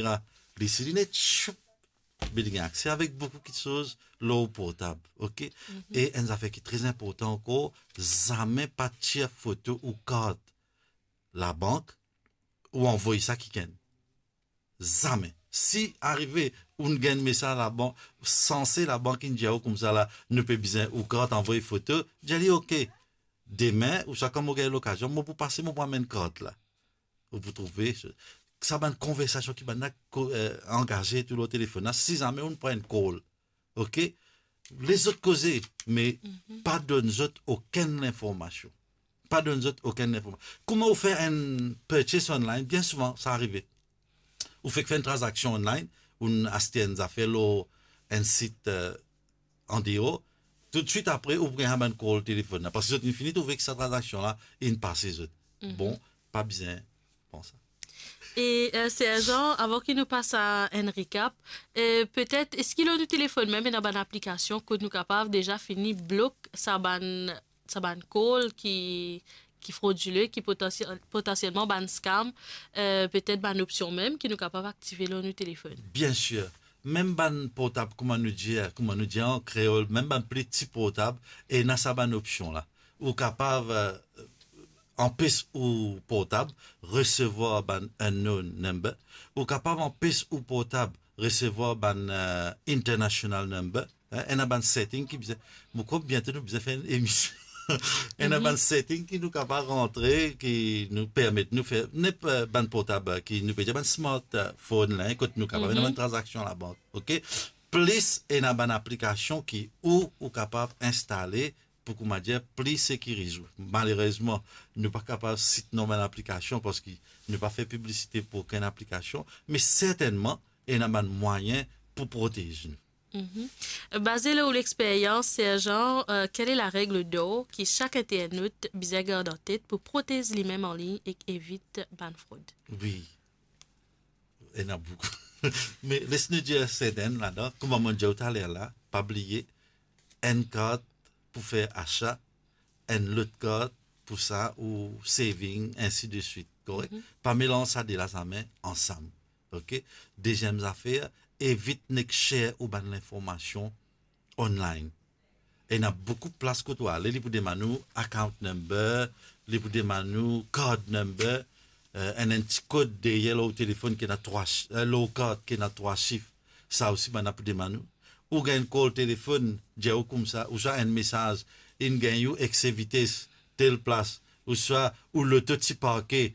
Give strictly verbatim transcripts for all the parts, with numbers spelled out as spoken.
kamera, li si linet, choup, li gagn akse avek boukou kiksoz lor portab, ok? Mhm. E enn zafer ki tre inportan ankor, zame pa tir foto ou kart labank ou anvoy sa kikenn. Zame. Si arive ou gagn mesaz labank, sanse labank inn dir ou koumsa la, nou pe bizin ou kart, anvoy foto, dir li, ok, demin, ouswa kan mo gagn lokazion, mo pou pase, mo pou amenn kart la. Ou pou trouve sa bann konversasion ki bann la ko-, eh, angaze tou lor telefonn la, si zame ou pran enn call, ok? Les zot koze, me Mhm. pa donn zot okenn linformasion. Pa donn zot okenn linformasion. Kouma ou fer enn purchase online, bien souvan, sa arive. Ou fek fer enn tranzaksion online, ou aste enn zafer lor enn sit, eh, andeor, toutswit apre ou pou gagn sa bann call telefonn la, parski zot inn fini trouve ki sa tranzaksion la inn pase zot. Mhm. Bon, pa bizin pran sa. E, eh, Serjan, avan ki nou pas a enn recap, eh, petet, eski lor nou telefonn mem ena bann aplikasion kot nou kapav deza fini blok sa bann, sa bann call ki, ki frodile, ki potansiel-, potansielman bann scam, eh, petet bann opsion mem ki nou kapav aktive lor nou telefonn? Bien sir. Mem bann portab, kouma nou dir, kouma nou dir an kreol, mem bann pli ti portab, ena sa bann opsion la. Ou kapav, eh, anpes ou portab resevwar bann unknown number. Ou kapav anpes ou portab resevwar bann, eh, international number. Eh, ena bann setting ki bizin, mo krwar biento nou bizin fer enn emision. Ena Mhm. bann setting ki nou kapav rantre, ki nou permet nou fer, nep-, eh, bann portab, eh, ki nou pe dir bann smart, eh, phone la, eh, kot nou kapav fer Mhm. bann tranzaksion labank, ok? Plis ena bann aplikasion ki ou, ou kapav instale pou, kouma dir, pli sekiriz ou. Malerezman, nou pa kapav sit nom bann aplikasion parski nou pa fer piblisite pou okenn aplikasion, me sertennman, ena bann mwayin pou protez nou. Mhm. Baze lor ou lexperyans, Serjan, eh, quelle est la règle d'or ki sak internot bizin gard an tet pou protez limem anlign ek evit bann frod? Wi. Ena boukou. Me les nou dir sertenn ladan, kouma mo dir ou taler la, pa bliye, enn kart pou fer asa, enn lot kart pou sa ou saving, ensi de swit, korek? Mhm. Pa melanz sa de la zame ansam, ok? Deziem zafer, evit nek share ou bann linformasion online. Ena boukou plas kot ou ale, li pou demann ou account number, li pou demann ou card number, eh, enn, enn ti kod deryer lor telefonn ki ena trwa sh-, eh, lor kart ki ena trwa sif. Sa osi bann la pou demann ou. Ou gagn call telefonn, dir ou koumsa, ouswa enn mesaz, inn gagn ou ekse vites, tel plas, ouswa ou loto ti parke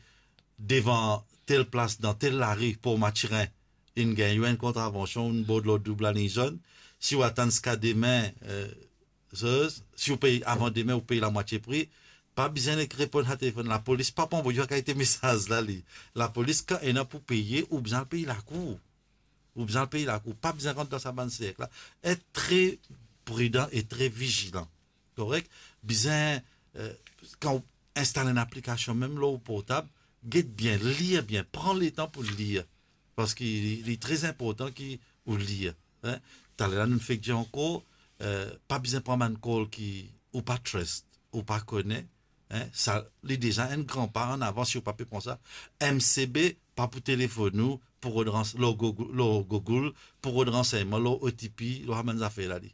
devan tel plas dan tel lari, Port Mathurin, inn gagn ou enn kontravansion, ou bord lor doub lalign zonn. Si ou atann ziska demin, eh, so, si ou pey avan demin, ou pey lamwatie pri, pa bizin nek reponn sa telefonn. Lapolis pa pou anvoy ou sa kalite mesaz la, li. Lapolis, kan ena pou peye, ou bizin al pey lakour. Ou bizin al pey lakour. Pa bizin rant dan sa bann serk la. Et tre pridan e tre vizilan. Korek? Bizin, eh, kan ou instal enn aplikasion, mem lor ou portab, get bien, lir bien, pran letan pou lir. Parski li, li tre inportan ki ou lir, hein. Taler la, nou fek dir ankor, eh, pa bizin pran bann call ki ou pa trust, ou pa kone, hein. Sa, li deza enn gran pa an avan, si ou pa pe pran sa. M C B pa pou telefonn ou pou rod rans-, lor Google, lor Google, pou rod ransegnman, lor O T P, lor sa bann zafer la, li.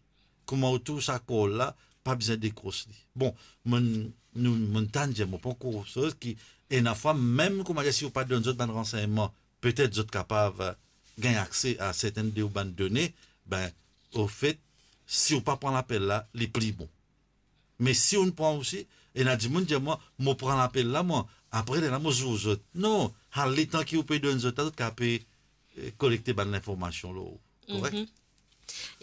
Kouma ou trouv sa call la, pa bizin dekros li. Bon, mo, nou, mo tann dir, mo pran koursoz ki, ena fwa, mem kouma dir, si ou pa donn zot bann ransegnman, petet zot kapav, eh, gagn akse a sertenn de ou bann done, be, ofet, si ou pa pran lapel la, li pli bon. Me si ou pran osi, ena dimoun dir mwa, mo pran lapel la, mwa, apre lerla mo zour zot. Non, al letan ki ou pe donn zot la, zot kapav pe, eh, kolekte bann linformasion lor ou. Korek? Mhm.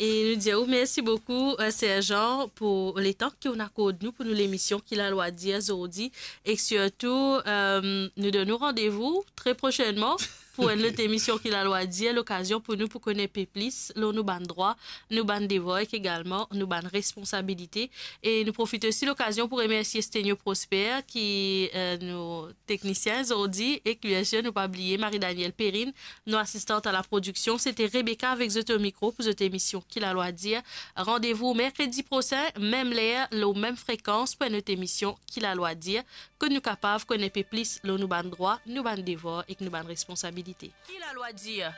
E nou dir ou mersi boukou, eh, Serjan, pou letan ki ou inn akord nou pou nou lemision Ki Lalwa Dir zordi. E sirtou, eh, nou donn ou randevou tre prosennman pou enn lot emision Ki Lalwa Dir, lokazion pou nou pou kone pe plis lor nou bann drwa, nou bann devwar ek egalman nou bann responsabilite. E nou profit osi lokazion pou remersie Stenio Prosper ki, eh, nou teknisien zordi, ek biensir nou pa bliye Marie-Danielle Perrine, nou asistant a la prodiksion. Sete Rebecca avek zot o mikro pou zot emision Ki Lalwa Dir. Randevou merkredi prosin, mem ler, lor mem frekans pou enn lot emision Ki Lalwa Dir, kot nou kapav kone pe plis lor nou bann drwa, nou bann devwar ek nou bann responsabilite. Ki lalwa dir?